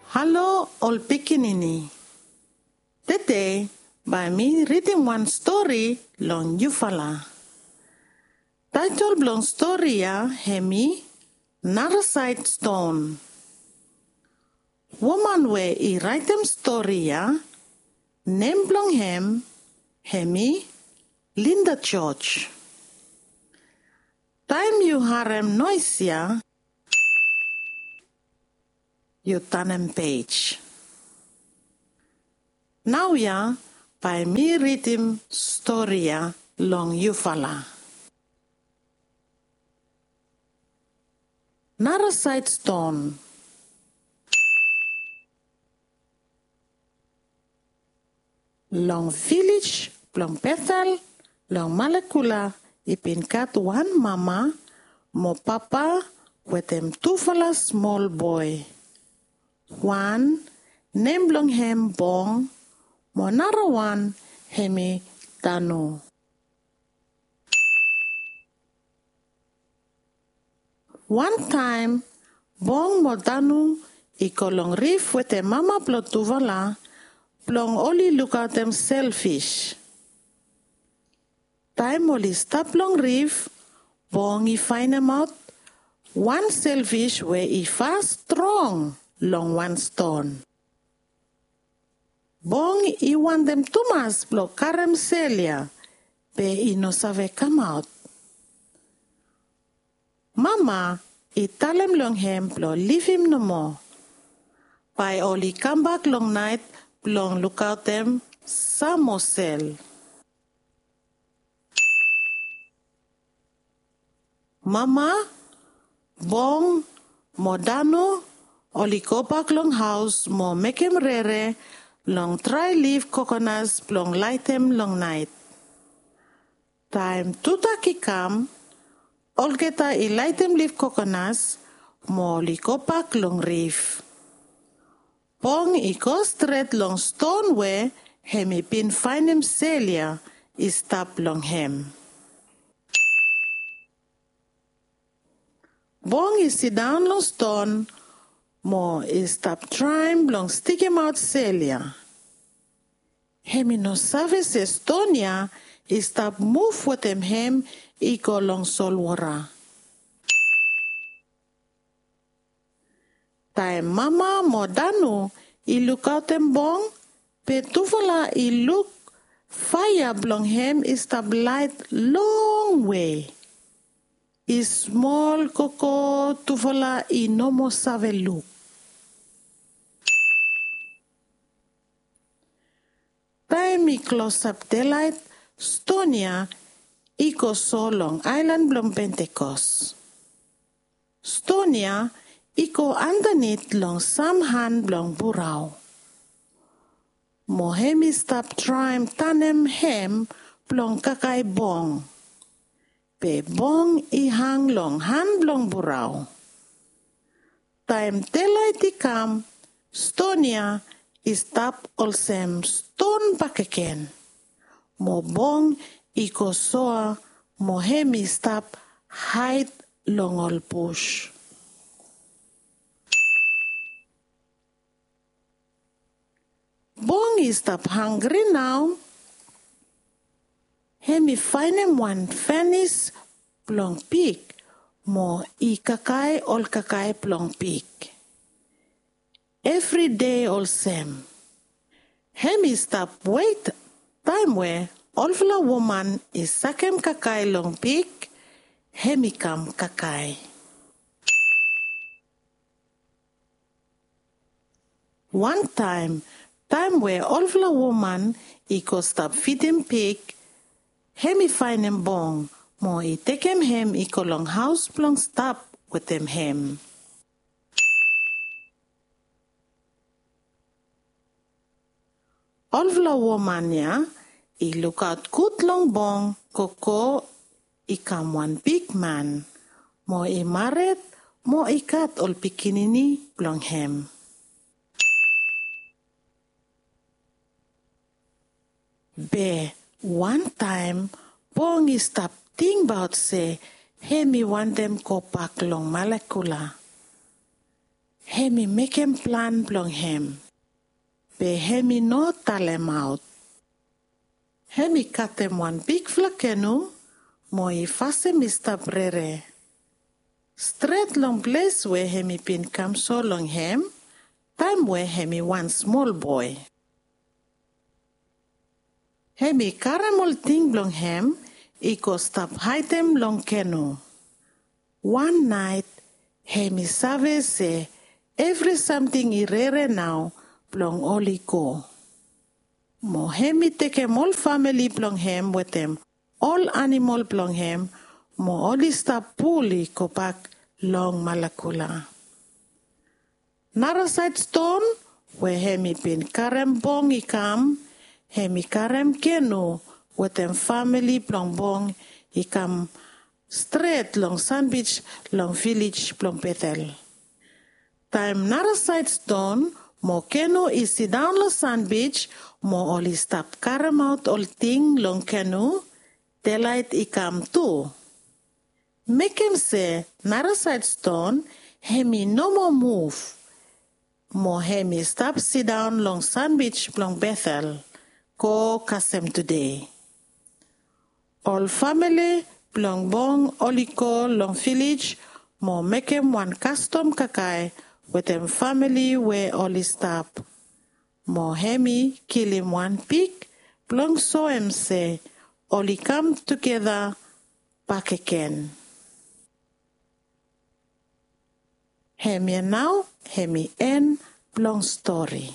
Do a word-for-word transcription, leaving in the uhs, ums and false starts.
Halo ol pikinini. Tede bae mi ridim wan stori long yufala. Taetol blong stori ya hemi Narasaed Ston. Woman we i raetem stori ya, nem blong hem hemi Linda George. Taem yu harem noes ya, yu tanem pej. Naoia bae mi ridim stori ya long yufala. Narasaed Ston. Long vilej blong Betel long Malekula i bin gat wan mama mo papa wetem tufala smol boe. Wan nem blong hem Bong mo narawan hemi Danu. Wantaem Bong mo Danu i go long rif wetem mama blong tufala blong oli lukaotem selfis. Taem oli stap long rif, Bong i faenemaot wan selfis we i fas strong long wan ston. Bong i wantem tumas blong karem sel ya, be i no save kamaot. Mama i talem long hem blong livim nomo. Bae oli kambak long naet blong lukaotem sam moa sel. Mama, Bong mo Danu oli gobak long haos mo mekem rere long drae lif kokonas blong laetem long naet. Taem tudak i kam, olgeta i laetem lif kokonas mo oli gobak long rif. Bong i go stret long ston we hem i bin faenem sel ya i stap long hem. Bong i sidaon long ston mo i stap traem blong stikemaot sel ya. Hem i no save se ston ya i stap muv wetem hem i go long solwora. Taem Mama mo Danu i lukaotem Bong, be tufala i luk faea blong hem i stap laet longwe. I smol gogo tufala i no moa save luk. Taem i klosap delaet, ston ya i go so long aelan blong Pentekos. Ston ya i go andanit long sam han blong burao. Mo hem i stap traem tanem hem blong kakae Bong. Be Bong i hang long han blong burao. Taem delaet i kam, ston ya i stap olsem ston bakegen. Mo Bong i go soa mo hem i stap haed long ol bus. Bong i stap hangre nao. Hem i faenem wan fanis blong pig mo i kakae ol kakae blong pig. Evri dei olsem. Hem i stap wet taem we olfala woman i sakem kakae long pig, hem i kam kakae. Wantaem, taem we olfala woman i go stap fidim pig, hem i faenem Bong mo i tekem hem i go long haos blong stap wetem hem. Olfala woman ya i lukaot gud long Bong gogo i kam wan bigman mo i mared mo i gat ol pikinini blong hem. Be wantaem Bong i stap tingbaot se hem i wantem gobak long Malekula. Hem i mekem plan blong hem, be hem i no talemaot. Hem i katem wan bigfala kenu mo i fasem i stap rere stret long ples we hem i bin kam so long hem taem we hem i wan smol boe. Hem i karem ol ting blong hem i go stap haedem long kenu. Wan naet hem i save se evri samting i rere nao blong oli go. Mo hem i tekem ol famili blong hem wetem ol anamol blong hem, mo oli stap pul i gobak long Malakula. Narasaed ston we hem i bin karem bong i kam, hem i karem kenu wetem famili blong bong i kam stret long sanbij long vilej blong Betel. Taem narasaed ston mo kenu i sidaon long sanbij mo oli stap karemaot ol ting long kenu, delaet i kam tu. Mekem se narasaed ston hem i no moa muv, mo hem i stap sidaon long sanbij blong Betel go kasem tude. Ol famili blong bong oli go long vilej mo mekem wan kastom kakae wetem famili we oli stap. Mo hem i kilim wan pig blong soem se oli kam tugeta bakegen. Hemia nao hem i en blong stori.